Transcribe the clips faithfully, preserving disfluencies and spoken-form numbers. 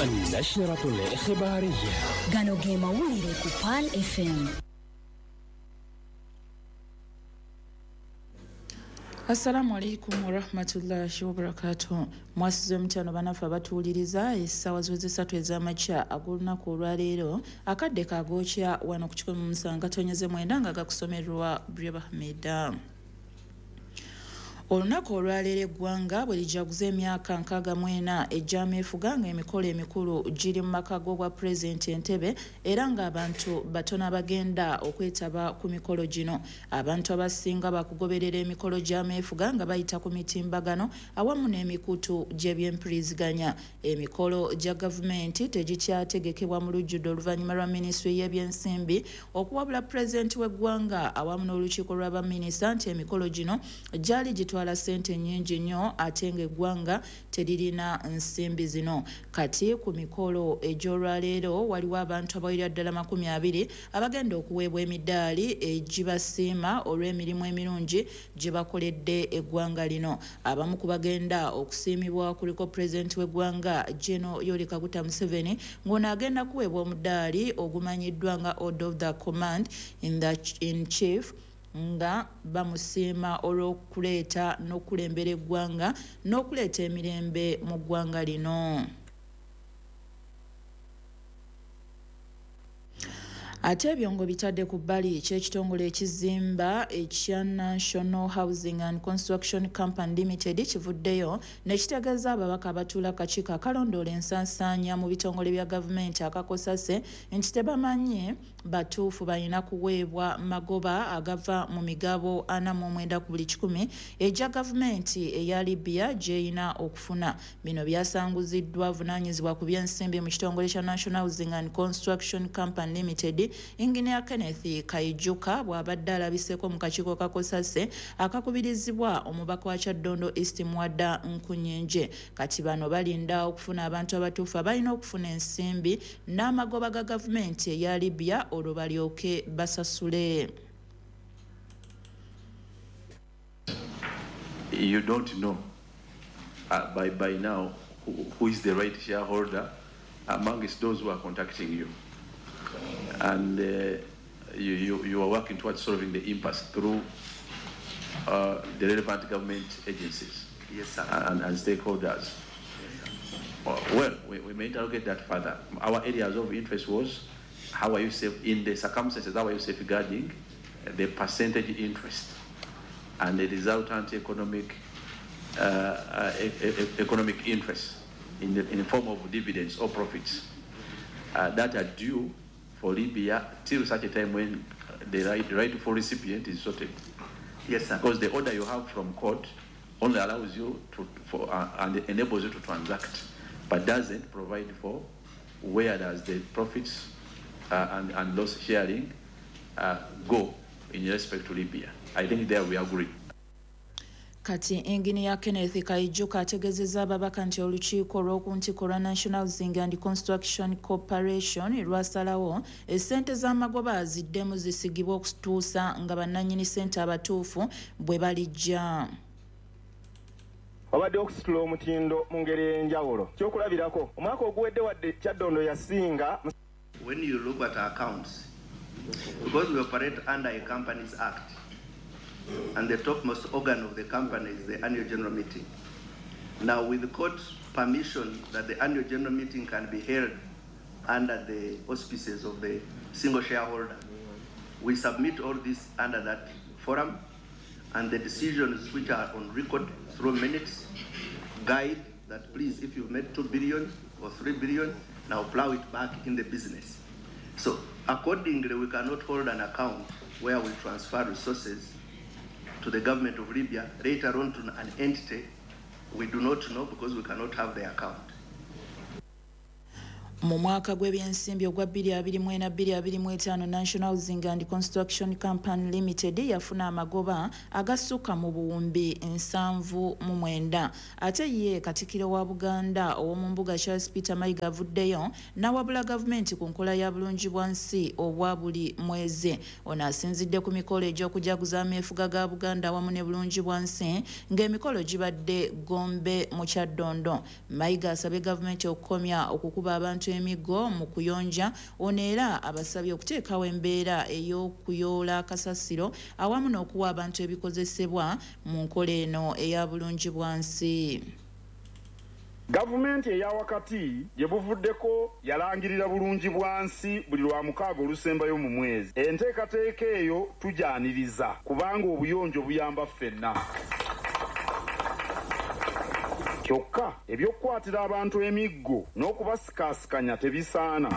النشرة الإخبارية. Gano ge mawulire ku Pearl F M. Assalamu alaikum warahmatullahi wabarakatuh. Mwasuze mutya bannaffe abatuwuliriza? Essaawa ziweze ssatu ez'amakya ag'olunaku olwaleero, akadde kagookya wano ku kikumi mu musanvu katonyeze mwenda nga gakusomerwa Breba Hamida. Olunaku olwaleero eggwanga bwe lijaguza emyaka nkaaga mu ena egy'ameefuga, ng'emikolo emikulu giri mu maka g'obwa pulezidenti Entebbe, era ng'abantu batono abagenda okwetaba ku mikolo gino. Abantu abasinga bakugoberera emikolo gy'ameefuga nga bayita ku mitimbagano awamu n'emikutu gy'ebyempuliziganya. Emikolo gya gavumenti tegikyategekebwa mu lujjudde oluvannyuma lwa minisitule y'ebyensimbi okuwabula pulezidenti w'eggwanga awamu n'olukiiko lw'abaminisita nti emikolo gino gyali gitwala ssente nnyingi nnyo ate ng'eggwanga teririna nsimbi zino. Kati ku mikolo egy'olwaleero waliwo abantu abawerera ddala makumi abiri abagenda okuweebwa emidaali egibasiima olw'emirimu emirungi gye bakoledde eggwanga lino. Abamu ku bagenda okusiimibwa kuliko pulezidenti w'eggwanga General Yoweri Kaguta Museveni, ng'ono agenda kuweebwa omudaali ogumanyiddwa nga Order of the Command in, the, in Chief, nga bamusiima olw'okuleeta n'okukulembera eggwanga n'okuleeta emirembe mu ggwanga lino. Ate ebyo ng'obitadde ku bbali, ky'ekitongole ekizimba ekya National Housing and Construction Company Limited kivuddeyo ne kitegeeza ababaka abatuula akakiiko akalondoola ensaasaanya mu bitongole bya gavumenti aka COSASE nti tebamanyi batuufu balina kuweebwa magoba agava mu migabo ana mu mwenda ku buli kikumi egya gavumenti eya Libya gy'erina okufuna. Bino byasanguziddwa avunaanyizibwa ku byensimbi mu kitongole kya National Housing and Construction Company Limited, Engineer Kenneth Kaijuka, bw'abadde alabiseeko mu kakiiko ka COSASE akakubirizibwa omubaka wa Kyaddondo East, Muwada Nkunyingi. Kati bano balinda okufuna abantu abatuufu abalina okufuna ensimbi n'amagoba ga gavumenti eya Libya, olwo balyoke basasule. You don't know uh, by, by now who, who is the right shareholder amongst those who are contacting you. And uh, you, you, you are working towards solving the impasse through uh, the relevant government agencies Yes, sir. and, and stakeholders. Uh, Well, we, we may interrogate that further. Our areas of interest was how are you safe in the circumstances, how are you safeguarding the percentage interest and the resultant economic uh, uh, e- e- economic interest in the, in the form of dividends or profits uh, that are due for Libya till such a time when the right, rightful recipient is sorted. Yes, sir. Because the order you have from court only allows you to, for, uh, and enables you to transact, but doesn't provide for where does the profits uh, and, and loss sharing uh, go in respect to Libya. I think there we agree. Kati Engineer Kenneth Kaijuka ategeezezza ababaka nti olukiiko olw'oku ntikko lwa National Housing and Construction Corporation lwasalawo essente z'amagoba ziddemu zisigibwa okutuusa nga bannannyini ssente abatuufu bwe balijja. Wabadde okusitula omutindo mu ngeri ey'enjawulo. Kyokulabirako, omwaka oguwedde wadde Kyaddondo yasinga When you look at our accounts, because we operate under a Companies Act, and the topmost organ of the company is the annual general meeting. Now, with the court permission that the annual general meeting can be held under the auspices of the single shareholder, we submit all this under that forum, and the decisions, which are on record through minutes, guide that please, if you've made two billion or three billion, now plow it back in the business. So accordingly, we cannot hold an account where we transfer resources to the government of Libya, later on to an entity we do not know, because we cannot have the account. Mu mwaka gw'ebyensimbi ogwa bbiri abiri mu ena bbiri abiri mu etaano, National Housing and Construction Company Limited yafuna amagoba agasukka mu buwumbi nsanvu mu mwenda. Ate ye Katikkiro wa Buganda ow'omu mbuga Charles Peter Mayiga avuddeyo n'awabula gavumenti ku nkola ya bulungi bwa nsi obwa buli mwezi. Ono asinzidde ku mikolo egy'okujaguza ameefuga ga Buganda awamu ne bulungi bwa nsi, ng'emikolo gibadde Gombe mu Kyaddondo. Mayiga asabye gavumenti okukomya okukuba abantu emiggo mu kuyonja. Ono era abasabye okuteekawo embeera ey'okuyoola kasasiro awamu n'okuwa abantu ebikozesebwa mu nkola eno eya bulungi bwa nsi. Gavumenti eya wakati gye buvuddeko yalangirira bulungi bwa nsi buli lwa mukaaga olusembayo mu mwezi. Enteekateeka eyo tugyaniriza kubanga obuyonjo buyamba ffenna. Kyokka ebyokukwatira abantu emiggo n'okubasikaasikanya tebisaana,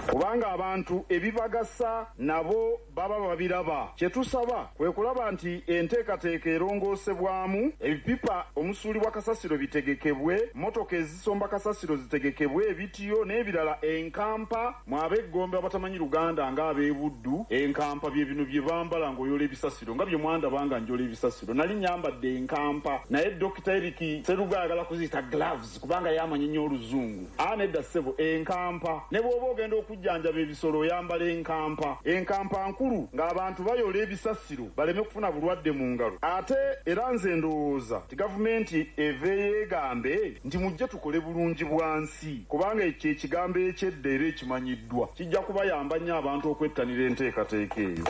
kubanga abantu ebibagasa nabo baba babiraba. Kye tusaba kwe kulaba nti enteekateeka erongoosebwamu, ebipipa omusuulibwa kasasiro bitegekebwe, mmotoka ezisomba kasasiro zitegekebwe, ebitiyo n'ebirala. Enkampa, mw'ab'eggombe abatamanyi Luganda ng'ab'ebuddu, enkampa bye bino bye bambala ng'oyola ebisasiro, nga bye mwandaba nga njola ebisasiro. Nali nyambadde enkampa, naye Dokita Eric Seruga ayagala kuziyita gloves kubanga yamanyi nnyo oluzungu. Aa, nedda ssebo, enkampa. Ne bw'oba ogenda okujjanjaba ebisolo oyambala enkampa. Enkampa nkulu ng'abantu bayola ebisasiro baleme kufuna bulwadde mu ngalo. Ate era nze ndowooza nti gavumenti eveeyo egambe nti mujje tukole bulungi bwa nsi, kubanga ekyo ekigambo ekyedda era ekimanyiddwa kijja kubayamba nnyo abantu okwettanira enteekateeka eyo.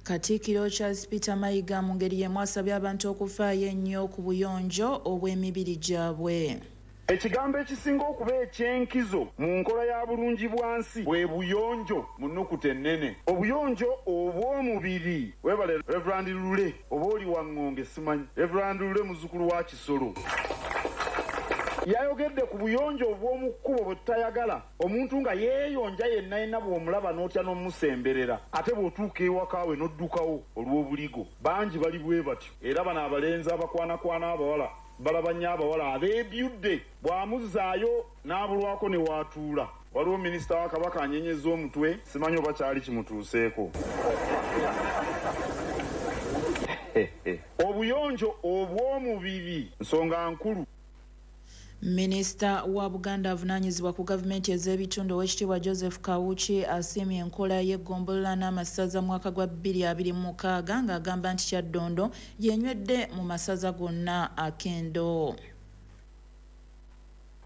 Katikkiro Charles Peter Mayiga mu ngeri y'emu asabye abantu okufaayo ennyo ku buyonjo obw'emibiri gyabwe. Ekigambo ekisinga okuba ekyenkizo mu nkola ya bulungi bwa nsi bwe buyonjo mu nnukuta ennene, obuyonjo obw'omubiri. Webale Reverand Lule, oba oli waŋŋonge simanyi. Reverand Lule muzzukulu wa Kisolo yayogedde ku buyonjo obw'omu kkubo bwe tutayagala, omuntu nga yeeyonja yenna yenna, bw'omulaba n'otya n'omusemberera, ate bw'otuuka ewaka we n'oddukawo olw'obuligo. Bangi bali bwe batyo, era bano abalenzi abakwanakwana abawala balaba nnyo abawala abeebyudde, bw'amuzzaayo n'abulwako ne waatuula. Waliwo minisita wa Kabaka anyenyeza omutwe, simanyi oba kyali kimutuuseeko. Obuyonjo obw'omubiri nsonga nkulu. Minisita wa Buganda avunaanyizibwa ku gavumenti ez'ebitundu, Oweekitiibwa Joseph Kawuki, asiimye enkola y'eggombolola n'amasaza mwaka gwa bbiri abiri mu mukaaga, ng'agamba nti Kyaddondo yenywedde mu masaza gonna akendo.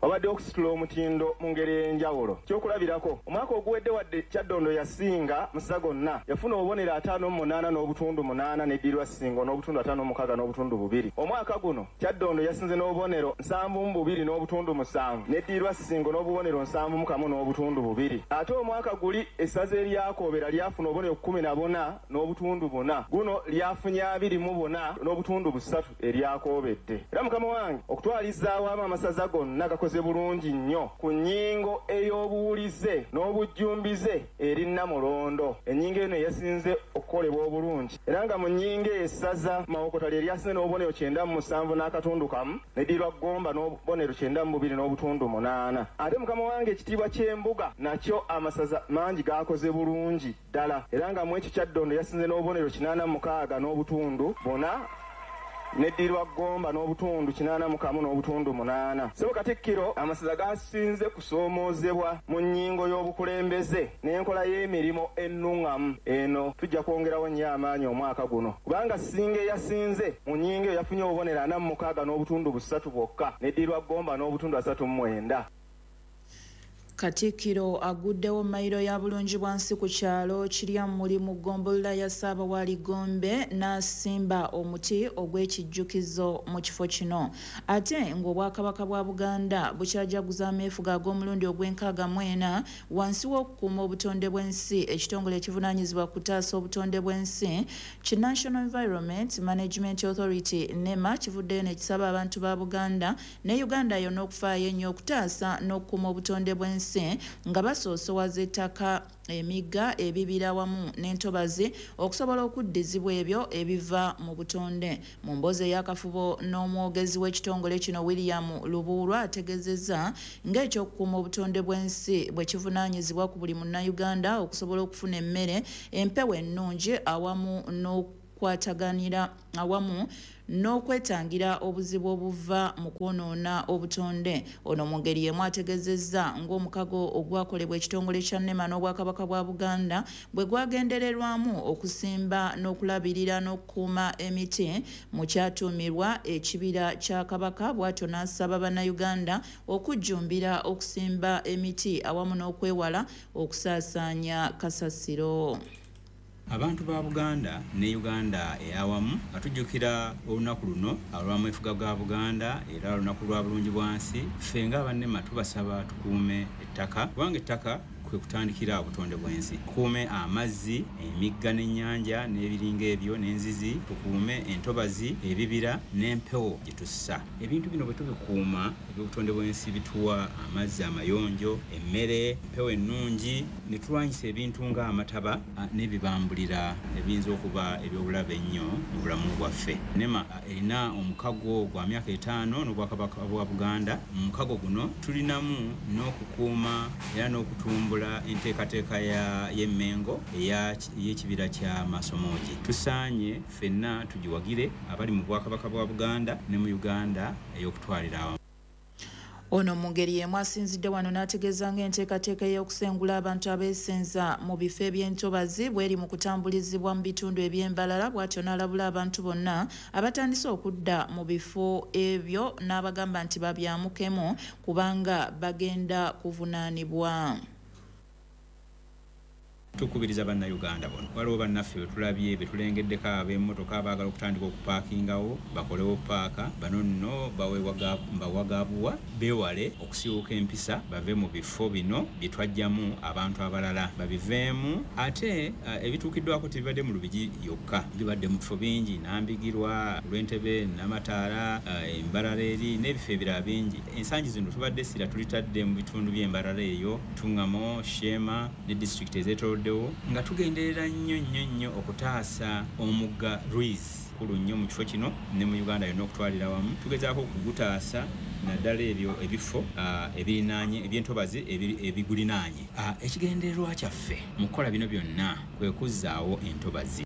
Wabadde okusitula omutindo mu ngeri ey'enjawulo. Kyokulabirako, omwaka oguwedde, wadde Kyaddondo yasinga masaza gonna, yafuna obubonero ataano mu munaana n'obutundu munaana, neddirwa Ssingo n'obutundu ataano mu mukaaga n'obutundu bubiri. Omwaka guno Kyaddondo yasinze n'obubonero nsanvu mu bubiri n'obutundu musanvu, neddirwa Ssingo n'obubonero nsanvu mu kamu n'obutundu bubiri. Ate omwaka guli essaza eryakoobera lyafuna obubonero kkumi na buna n'obutundu buna, guno lyafunye abiri mu buna n'obutundu busatu eryakoobedde. Era mukama wange, okutwaliza awamu amasaza gonna gakoze bulungi nnyo ku nnyingo ey'obuwulize n'obujjumbize eri Nnamulondo, ennyingo eno eyasinze okukolebwa obulungi. Era nga mu nnyingo essaza Mawokota lye lyasinze n'obubonero kyenda mu musanvu n'akatundu kamu, neddirwa Ggomba n'obubonero kyenda mu bubiri n'obutundu munaana. Ate mukama wange, ekitiibwa ky'embuga nakyo amasaza mangi gakoze bulungi ddala, era nga mu ekyo Kyaddondo yasinze n'obubonero kinaana mu mukaaga n'obutundu buna, neddirwa Ggomba n'obutundu kinaana mu kamu n'obutundu munaana. Ssebo Katikkiro, amasaza gasinze kusoomoozebwa mu nnyingo y'obukulembeze n'enkola y'emirimu ennuŋŋamu. Eno tujja kwongerawo nnyo amaanyi omwaka guno, kubanga Ssingo eyasinze mu nnyingo eyo yafunye obubonero ana mu mukaaga n'obutundu busatu bwokka, neddirwa Ggomba n'obutundu asatu mu mwenda. Katikkiro aguddewo mayiro ya bulungi bwa nsi ku kyalo Kiryammuli mu ggombolola ya Ssaabawaali Gombe, n'asimba omuti ogw'ekijjukizo mu kifo kino. Ate ng'Obwakabaka bwa Buganda bukyajaguza ameefuga ag'omulundi ogw'enkaaga mu ena wansi w'okukuuma obutonde bw'ensi, ekitongole ekivunaanyizibwa ku kutaasa obutonde bw'ensi ki National Environment Management Authority, NEMA, kivuddeyo ne kisaba abantu ba Buganda ne Uganda yonna okufaayo ennyo okutaasa n'okukuuma obutonde bw'ensi. bw'ensi nga basoosowaza ettaka, emigga, ebibira wamu n'entobazi okusobola okuddizibwa ebyo ebiva mu butonde. Mu mboozi ey'akafubo n'omwogezi w'ekitongole kino William Lubuulwa ategeezezza ng'ekyokukuuma obutonde bw'ensi bwe kivunaanyizibwa ku buli munnayuganda okusobola okufuna emmere, empewo ennungi awamu n'okukwataganira awamu n'okwetangira obuzibu obuva mu kwonoona obutonde. Ono mu ngeri y'emu ategeezezza ng'omukago ogwakolebwa ekitongole kya NEMA n'Obwakabaka bwa Buganda bwe gwagendererwamu okusimba n'okulabirira n'okukuuma emiti mu kyatuumirwa ekibira kya Kabaka, bw'atyo n'asaba Bannayuganda okujjumbira okusimba emiti awamu n'okwewala okusaasaanya kasasiro. Abantu ba Buganda ne Uganda eyawamu nga tujjukira olunaku luno olw'amwefuga ga Buganda era olunaku lwa bulungi bwansi, ffe ng'abannema tubasaba tukuume ettaka kubanga ettaka kwe kutandikira obutonde bw'ensi. Tukuume amazzi, emigga n'ennyanja n'ebiringa ebyo n'enzizi, tukuume entobazi, ebibira n'empewo gye tussa. Ebintu bino bwe tubikuuma, eby'obutonde bw'ensi bituwa amazzi amayonjo, emmere, empewo ennungi, ne tulwanyisa ebintu ng'amataba n'ebibambulira ebiyinza okuba eby'obulabe ennyo mu bulamu bwaffe. NEMA erina omukago gwa myaka etaano n'Obwakabaka bwa Buganda. Mu mukago guno tulinamu n'okukuuma era n'okutumbula enteekateeka y'Emmengo ey'ekibira kya Masomogi. Tusaanye ffenna tugiwagire abali mu Bwakabaka bwa Buganda ne mu Uganda ey'okutwalira awamu. Ono mu ngeri y'emu asinzidde wano n'ategeeza ng'enteekateeka ey'okusengula abantu abeesenza mu bifo eby'entobazi bw'eri mu kutambulizibwa mu bitundu eby'embalala, bw'atyo n'alabula abantu bonna abatandise okudda mu bifo ebyo n'abagamba nti babyamukemu kubanga bagenda kuvunaanibwa. Tukubiriza Bannayuganda bonna. Waliwo bannaffe be tulabye be tulengeddeko ab'emmotoka abaagala okutandika okupaakingawo bakolewo paaka. Bano nno bawagabuwa beewale okusiiwuuka empisa bave mu bifo bino bye twajjamu abantu abalala babiveemu. Ate ebituukiddwako tebibadde mu Lubigi yokka, bibadde mu bifo bingi, Nambigirwa, Lwentebe, Namataala, Embarara eri n'ebifo ebirala bingi. Ensangi zino tubadde essira tulitadde mu bitundu by'Embarara eyo, Tungamo, Sheema ne disitulikiti ezeetoolodde, nga tugenderera nnyo nnyo nnyo okutaasa omugga Ruiz kulu nnyo mu kifo kino ne mu Uganda yonna okutwalira awamu. Tugezaako okugutaasa naddala ebyo ebifo ebirinaanye ebyentobazi ebigulinaanye. Ekigendererwa kyaffe mu kukola bino byonna kwe kuzzaawo entobazi.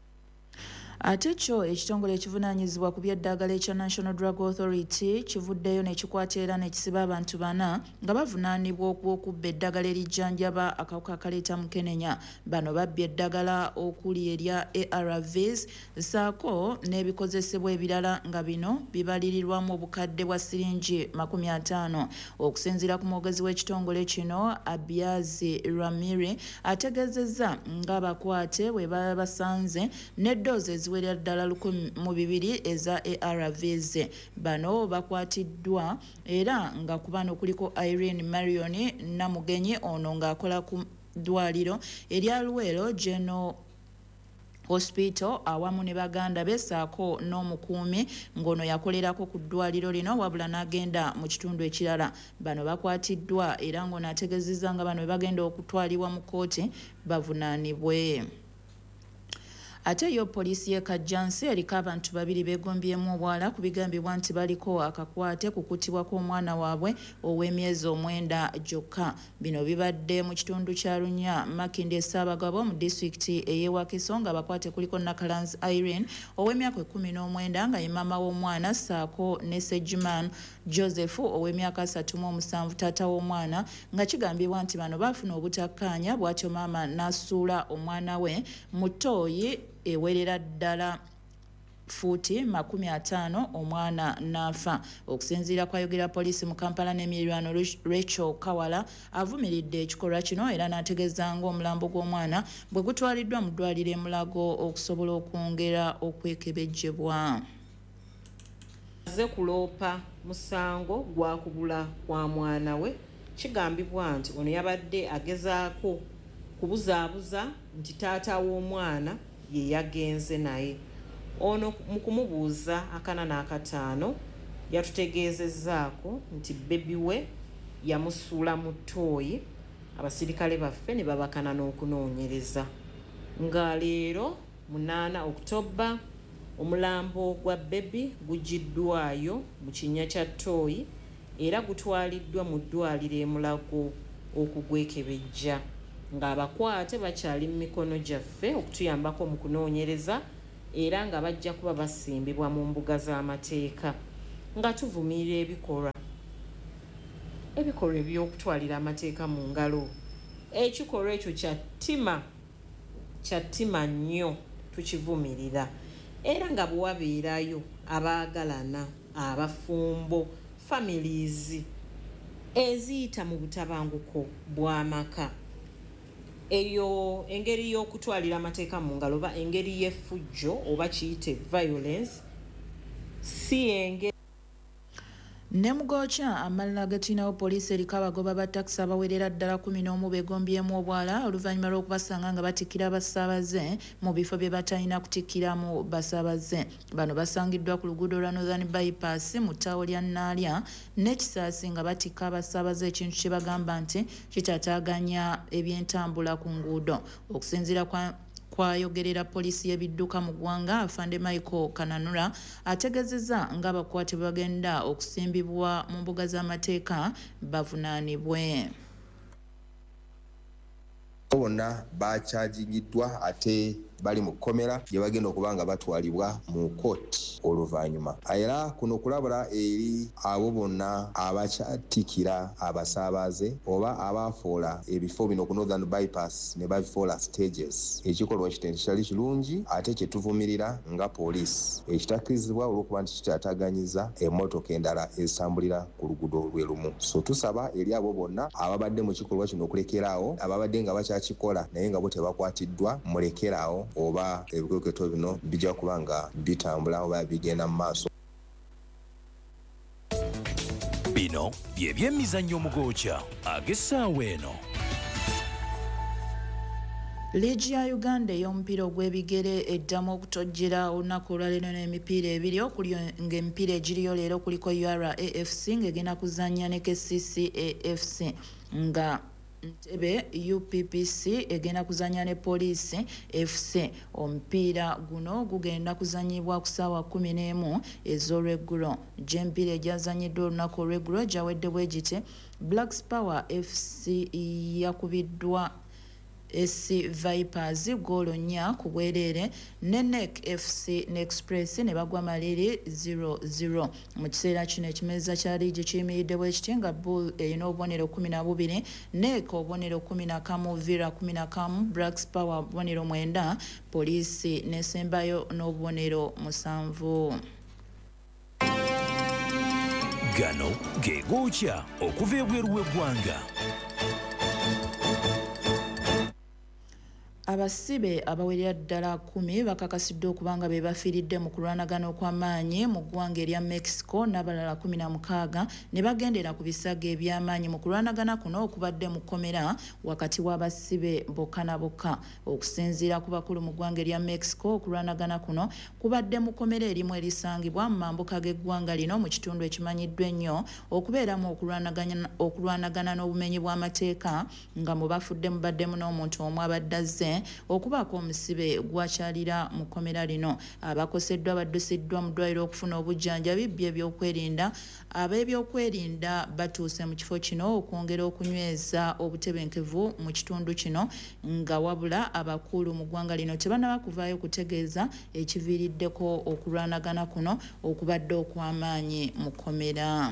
Ate kyo ekitongole ekivunaanyizibwa ku by'eddagala ekya National Drug Authority kivuddeyo n'ekikwata era n'ekisiba abantu bana nga bavunaanibwa ogw'okubba eddagala erijjanjaba akawuka akaleeta mukenenya. Bano babbye eddagala okuli erya A R Vs ssaako n'ebikozesebwa ebirala nga bino bibalirirwamu obukadde bwa siringi makumi ataano. Okusinziira ku mwogezi w'ekitongole kino Abiazi Ramiri ategeezezza ng'abakwate bwe baba basanze n'eddoozi eziwerera ddala lukumi mu bibiri eza A R Vs. Bano bakwatiddwa era nga ku bano kuliko Irene Marion Namugenyi, ono ng'akola ku ddwaliro erya Luweero General Hospital awamu ne baganda be ssaako n'omukuumi ng'ono yakolerako ku ddwaliro lino wabula n'agenda mu kitundu ekirala. Bano bakwatiddwa era ng'ono ategeezezza nga bano bwe bagenda okutwalibwa mu kkooti bavunaanibwe. Ate yo poliisi y'e Kajjansi eriko abantu babiri beegombyemu obwala ku bigambibwa nti baliko akakwate ku kuttibwa kw'omwana waabwe ow'emyezi omwenda gyokka. Bino bibadde mu kitundu kya Lunya, Makindye Ssaabagabo mu disitulikiti ey'e Wakiso ng'abakwate kuliko Nakalanzi Irene ow'emyaka ekkumi n'omwenda nga ye maama w'omwana ssaako ne Segiman Joseph ow'emyaka asatu mu omusanvu taata w'omwana, nga kigambibwa nti bano baafuna obutakkaanya bw'atyo maama n'asuula omwana we mu ttooyi ewerera ddala fuuti makumi ataano omwana n'afa. Okusinziira kwayogera poliisi mu Kampala n'emiriraano Rachel Kawala avumiridde ekikolwa kino era n'ategeeza ng'omulambo gw'omwana bwe gutwaliddwa mu ddwaliro e Mulago okusobola okwongera okwekebejjebwa. Azze kuloopa musango gwa kubula kwa mwana we. Kigambibwa nti ono yabadde agezaako kubuzaabuza nti taata w'omwana ye yagenze naye. Ono mu kumubuuza akana n'akataano yatutegeezezzaako nti bbebi we yamusuula mu ttooyi Abasirikale baffe ne babakana n'okunoonyereza. Nga leero munaana Okutoba omulambo gwa Bebi gugiddwayo mu kinnya kya Toyi era gutwaliddwa mu ddwaliro e Mulago okugwekebejja, ng'abakwate bakyali mu mikono gyaffe okutuyambako mu kunoonyereza era nga bajja kuba basimbibwa mu mbuga z'amateeka. Nga tuvumirira ebikolwa ebikolwa eby'okutwalira amateeka mu ngalo, ekikolwa ekyo kya ttima kya ttima nnyo, tukivumirira. Era nga bwe wabeerayo abaagalana, abafumbo, families eziyita mu butabanguko bw'amaka, eyo engeri y'okutwalira amateeka mu ngalo oba engeri y'effujjo oba kiyite violence si engeri. Ne mugokya amalala gatulinawo poliisi eriko abagoba ba takisi abawerera ddala kumi n'omu beegombyemu obwala oluvannyuma lw'okubasanga nga batikkira abasaabaze mu bifo bye batalina kutikkiramu basaabaze. Bano basangiddwa ku luguudo lwa Northern Bypass mu ttaawo lya Naalya n'Ekisaasi nga batikka abasaabaze, ekintu kye bagamba nti kitaataaganya ebyentambula ku nguudo. Okusinziira kwa kwayogerera poliisi y'ebidduka mu ggwanga, Afande Michael Kananura ategeezezza ng'abakwate bagenda okusimbibwa mu mbuga z'amateeka bavunaanibwe. Bonna bakyajigiddwa ate bali mu kkomera gye bagenda okuba nga batwalibwa mu kooti oluvannyuma. Era kuno kulabula eri abo bonna abakyatikira abasaabaze oba abafuula ebifo bino ku Northern Bypass ne babifuula stages. Ekikolwa kino kitali kirungi ate kye tuvumirira nga poliisi, ekitakkirizibwa olw'okuba nti kitaataganyiza emmotoka endala ezitambulira ku luguudo lwe lumu. So tusaba eri abo bonna ababadde mu kikolwa kino okulekeraawo, ababadde nga bakyakikola naye nga bo tebakwatiddwa, mulekeraawo oba ebikwekweto bino bijja kuba nga bitambula oba bigenda mu maaso. Bino bye byemizannyo mugokya ag'essaawa eno. Liigi ya Uganda ey'omupiira ogw'ebigere eddamu okutojjera olunaku olwaleero n'emipiira ebiri okuli ng'emipiira egiriyo leero kuliko U R A F C ng'egenda kuzannya ne K C C A F C, nga Ntebe U P P C egenda kuzannya ne Poliisi F C. Omupiira guno gugenda kuzannyibwa ku ssaawa kkumi n'emu ez'olweggulo. Gy'emipiira egyazannyiddwa olunaku olw'eggulo gyawedde bwe giti: Black Power F C yakubiddwa S C Vipers ggoolo nnya ku bwereere, ne N E C F C ne Express ne bagwa maliri zero zero. Mu kiseera kino ekimeeza kya liigi kiyimiridde bwe kiti nga Bull erina obubonero kkumi na bubiri, N E C obubonero kkumi na kamu, Villa kkumi na kamu, Black Power obubonero mwenda, Poliisi n'esembayo n'obubonero musanvu. Gano ge gookya okuva ebweru w'eggwanga. Abasibe abawerera ddala kkumi bakakasiddwa okuba nga be bafiiridde mu kulwanagana okw'amaanyi mu ggwanga erya Mexico, n'abalala kkumi na mukaaga ne bagendera ku bisago eby'amaanyi mu kulwanagana kuno okubadde mu kkomera wakati w'abasibe bokka na bokka. Okusinziira ku bakulu mu ggwanga erya Mexico, okulwanagana kuno kubadde mu kkomera erimu erisangibwa mu mambuka g'eggwanga lino mu kitundu ekimanyiddwa ennyo okubeeramu okulwanagana n'obumenyi bw'amateeka, nga mu bafudde mubaddemu n'omuntu omu abadde azze okubaako omusibe gwakyalira mu kkomera lino. Abakoseddwa baddusiddwa mu ddwaliro okufuna obujjanjabi by'ebyokwerinda. Ab'ebyokwerinda batuuse mu kifo kino okwongera okunyweza obutebenkevu mu kitundu kino, nga wabula abakulu mu ggwanga lino tebannaba kuvaayo kutegeeza ekiviiriddeko okulwanagana kuno okubadde okw'amaanyi mu kkomera.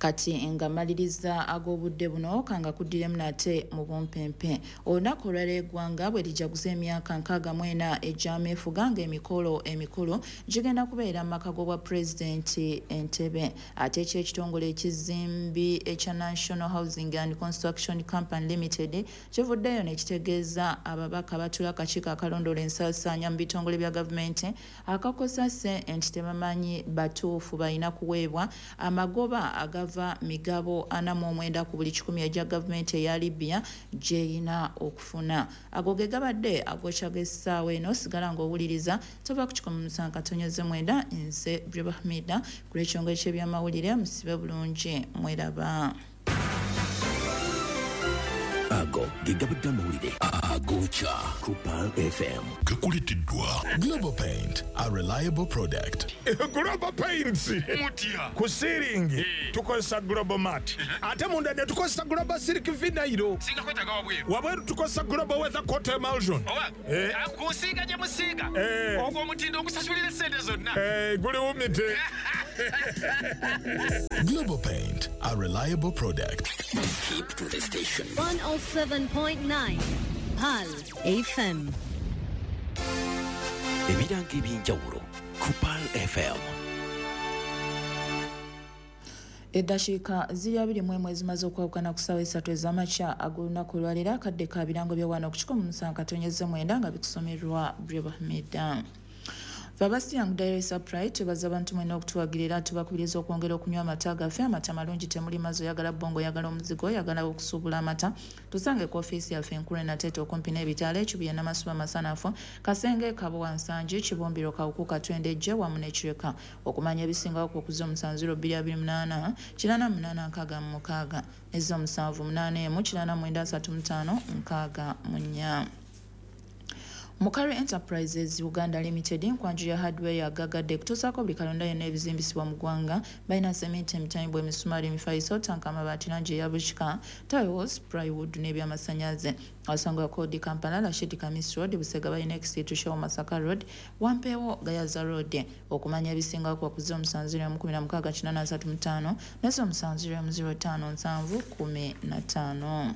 Kati nga maliriza ag'obudde buno kanga kuddiremu nate mu bumpempe. Olunaku olwaleero eggwanga bwe lijaguza emyaka nkaaga mu ena egy'ameefuga, ng'emikolo emikulu gigenda kubeera mu maka g'obwa pulezidenti Entebbe. Ate ekyo ekitongole ekizimbi ekya National Housing and Construction Company Limited kivuddeyo ne kitegeeza ababaka abatuula akakiiko akalondoola ensaasaanya mu bitongole bya gavumenti akakosase nti tebamanyi batuufu balina kuweebwa amagoba agava migabo ana mu omwenda ku buli kikumi egya gavumenti eya Libya gy'erina okufuna. Ago ge gabadde agokya g'essaawa eno. Sigala ng'owuliriza tova ku kikumi musanvu katonyeze mwenda. Nze Briba Hamida ku lw'ekitongole ky'ebyamawulire. Musibe bulungi, mweraba. Ago ge gabadde amawulire agokya ku Pearl F M. Gakuleteddwa Global Paint, a reliable product. Global Paints mutya ku ceiling tukozesa Global Mat, ate munda ne tukozesa Global Silk Vinyl. Singa kwetaaga wabweru, wabweru tukozesa Global Weather Coat Emulsion. Eh. Kusiiga gye musiiga ogwo omutindo ogusasulira essente zonna. Eh, guli wumite. Global Paint, a reliable product. Keep to the station. one oh seven point nine Pearl F M. Ebirango ebyenjawulo ku Pearl F M. Eddakiika ziri abiri mu emu ezimaze okwawukana ku ssaawa esatu ez'amakya ag'olunaku olwaleero, akadde ka birango bya wano ku kikumi mu musanvu katonyeze mwenda nga bikusomerwa Breba Hamida. Babasi Young Dairy Supply tubaza abantu mwena okutuwagirira, tubakubiriza okwongera okunywa amata gaffe. Amata malungi, temuli mazzi, oyagala bbongo, oyagala omuzigo, oyagala okusuubula amata, tusange ku ofiisi yaffe enkulu Nateete okumpi n'ebitaala, Ekibuye, Namasuba, Masanafu, Kasenge, Kabowa, Nsangi, Kibumbiro, Kawuku, Katwende, Ejje wamu n'Ekireka. Okumanya ebisingawo ku okuza omusanvu ziro bbiri abiri munaana kinaana munaana nkaaga mu mukaaga ez'omusanvu munaana emu kinaana mwenda asatu mu ttaano nkaaga mu nnya. Mukari Enterprises Uganda Limited nkwanju ya hardware ya gagadde kutuusaako buli kalonda yonna ebizimbisibwa mu ggwanga. Balina sementi, emitayimbwa, emisumaali, emifaliso, tanka, amabaati, langi eya bukika, tiles, plywood n'ebyamasannyalaze. Awasangwa Kodi Kampala, Rashid Kamis Road, Busega balina Exit Show, Masaka Road, Wampeewo, Gayaza Road. Okumanya ebisingawo ku bakuze omusanvu ziro emu kumi na mukaaga kinaana asatu mu ttaano n'ez'omusanvu ziro emu ziro ttaano nsanvu kumi na ttaano.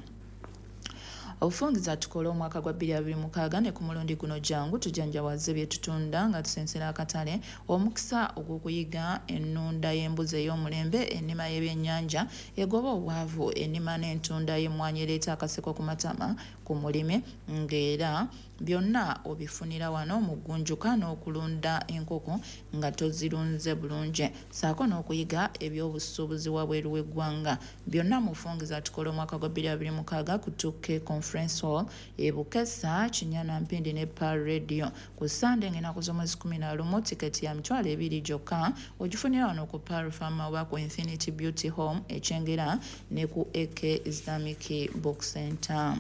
Obufungiza tukole omwaka gwa bbiri abiri mukaaga ne ku mulundi guno jangu tujanjawaze bye tutunda nga tusensera akatale, omukisa ogw'okuyiga ennunda y'embuzi ey'omulembe, ennima y'ebyennyanja egoba obwavu, ennima n'entunda y'emmwanyi ereeta akaseko ku matama ku mulimi, ng'era byonna obifunira wano mu ggunjuka n'okulunda enkoko nga tozirunze bulungi, ssaako n'okuyiga ebyobusuubuzi wabweru w'eggwanga. Byonna mu bufungiza tukole omwaka gwa bbiri abiri mukaaga ku two K Conference Hall e Bukesa, Kinyana, Mpindi ne Pearl Radio ku Sande ng'ennaku z'omwezi kumi na lumu. Tiketi ya mitwalo ebiri gyokka ogifunira wano ku Pearl Farm oba ku Infinity Beauty Home e Kyengera ne ku A K Islamic Book Center.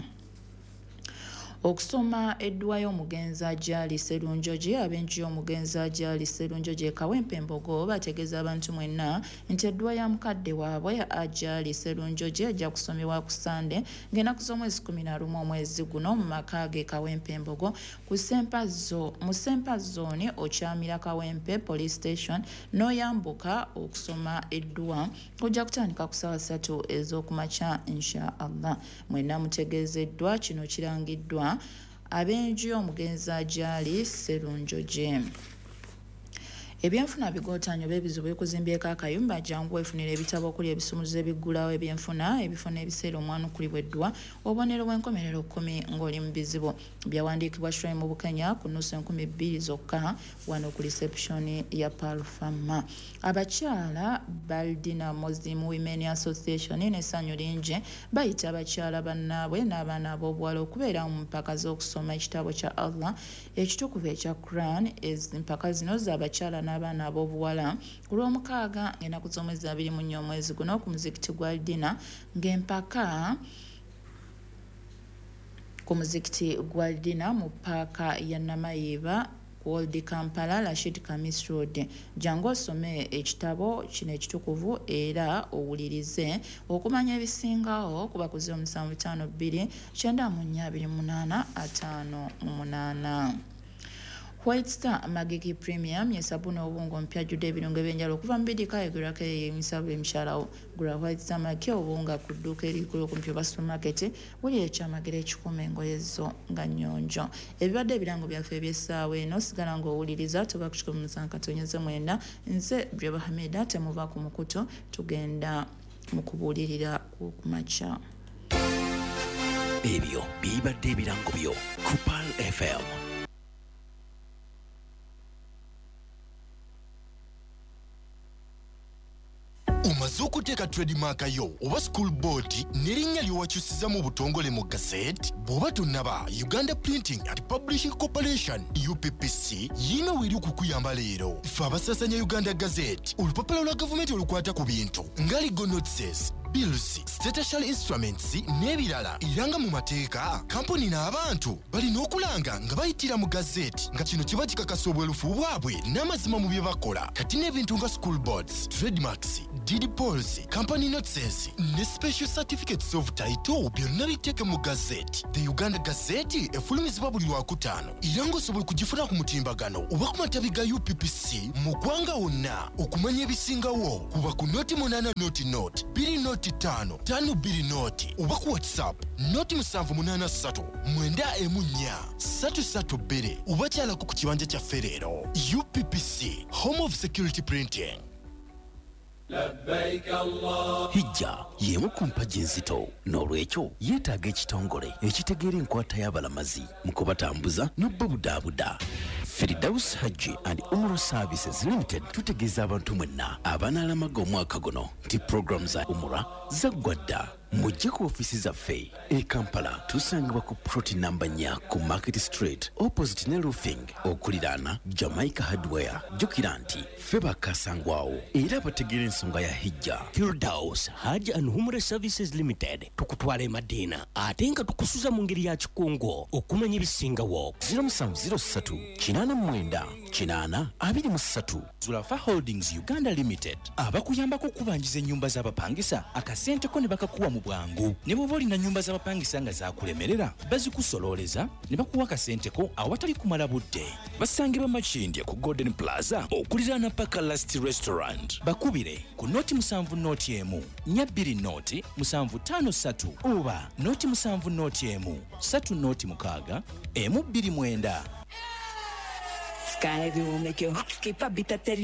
Okusoma edduwa y'omugenzi Ajali Sserunjogi. Ab'enju y'omugenzi Ajali Sserunjogi e Kawempe Mbogo bategeeza abantu mwenna nti edduwa ya mukadde waabwe Ajali Sserunjogi ejja kusomebwa ku Sande ng'ennaku z'omwezi kumi na lumu omwezi guno mu maka ge Kawempe Mbogo ku Sempa Zo mu Sempa Zone okyamira Kawempe Police Station n'oyambuka okusoma edduwa ojja kutandika ku ssaawa ssatu ez'okumakya insha Allah. Mwenna mutegeezeddwa kino kirangiddwa ab'enju y'omugenzi Ajali Sserunjogi. Ebyenfuna bigotanyo b'ebizibu bikuzimbyeko akayumba, jangu weefunira ebitabo okuli ebisumuzo ebiggulawo ebyenfuna, ebifo n'ebiseera omwanukulibwa eddwa, obubonero bw'enkomerero kkumi ng'oli mu bizibu. Byawandiikibwa Shrine mu Bukenya ku nnusu enkumi bbiri zokka wano ku reception ya Pearl Farm. Abakyala Baldina Muslim Women Association n'essanyu lingi bayita abakyala bannaabwe n'abaana ab'obuwala okubeera mu mpaka z'okusoma ekitabo kya Allah ekitukuvu ekya Quran. Empaka zino z'abakyala n'abaana ab'obuwala ku lw'omukaaga ng'ennaku z'omwezi abiri mu nnya omwezi guno ku muzikiti gwa Dina, ng'empaka ku muzikiti gwa Dina mu paaka ya Namayiba ku Old Kampala, Rashid Kamis Road. Jangu osome ekitabo kino ekitukuvu era owulirize. Okumanya ebisingawo kuba ku ziro musanvu ttaano bbiri kyenda mu nnya abiri munaana ataano mu munaana. White Star Magiki Premium ye sabuni obwongo mpya ajjudde ebirungo ebyenjawulo okuva mu bidika egulako emisabu emikyalawo. Gula White Star Magiki obuwunga ku dduuka erikulu okumpi oba supermarket, wulira ekyamagero ekikuuma engoye zo nga nnyonjo. Ebibadde ebirango byaffe eby'essaawa eno, sigala ng'owuliriza tuba ku kikumi musanvu katonyeze mwenda. Nze Breba Hamida, temuva ku mukutu, tugenda mu kubuulirira kw'okumakya. Ebyo bibadde ebirango byo ku Pearl F M. Omaze okuteeka trademark yo oba school board n'erinnya ly'owakyusiza mu butongole mu gazette? Bw'oba tonnaba, Uganda Printing and Publishing Corporation U P P C yiina weeri okukuyamba leero. Ffe abasaasanya Uganda Gazette, olupapula lwa gavumenti olukwata ku bintu nga legal notices, Bills, statutory instruments n'ebirala. Era nga mu mateeka, kampuni n'abantu balina okulanga nga bayitira mu gazeti, nga kino kiba kikakasa obwerufu bwabwe n'amazima mu bye bakola. Kati n'ebintu nga school boards, trademarks, deed polls, company notices ne special certificates of title byonna biteeke mu gazeti. The Uganda Gazette efulumizibwa buli Lwakutaano, era ng'osobola okugifuna ku mutimbagano oba ku matabi ga U P P C mu ggwanga wonna. Okumanya ebisingawo kuba ku noti munaana noti noti bbiri noti ttaano ttaano bbiri noti oba ku WhatsApp noti musanvu munaana ssatu mwenda emu nnya ssatu ssatu bbiri oba kyalako ku kibanja kyaffe leero. U P P C, Home of Security Printing. Hijja y'emu ku mpagi enzito, n'olwekyo yeetaaga ekitongole ekitegeera enkwata y'abalamazi mu kubatambuza n'obubudaabuda. Firdaus Hajji and Umrah Services Limited tutegeeza abantu mwenna abanaalamaga omwaka guno nti pulogulaamu za Umrah zaggwa dda. Mujje ku ofiisi zaffe e Kampala, tusangibwa ku plot namba nnya ku Market Street opposite ne Roofing okuliraana Jamaica Hardware. Jjukira nti ffe bakasangwawo era bategeera ensonga ya Hijja. Firdaus Hajj and Umrah Services Limited tukutwala e Madina ate nga tukusuza mu ngeri ya kikungo. Okumanya ebisingawo zero musanvu zero ssatu kinaana mwenda kinaana abiri mu ssatu. Zulafa Holdings Uganda Limited abakuyambako okubanjiza ennyumba z'abapangisa akasente ko ne bakakuwa mu bwangu. Ne bw'oba olina nnyumba z'abapangisa nga zaakulemerera, bazikusololeza ne bakuwa akasente ko awatali kumala budde. Basangibwa Makindye ku Golden Plaza okuliraana Paka Last Restaurant. Bakubire ku noti musanvu noti emu nnya bbiri noti musanvu ttaano ssatu oba noti musanvu noti emu ssatu noti mukaaga emu bbiri mwenda. Sky will make your heart skip a bit at the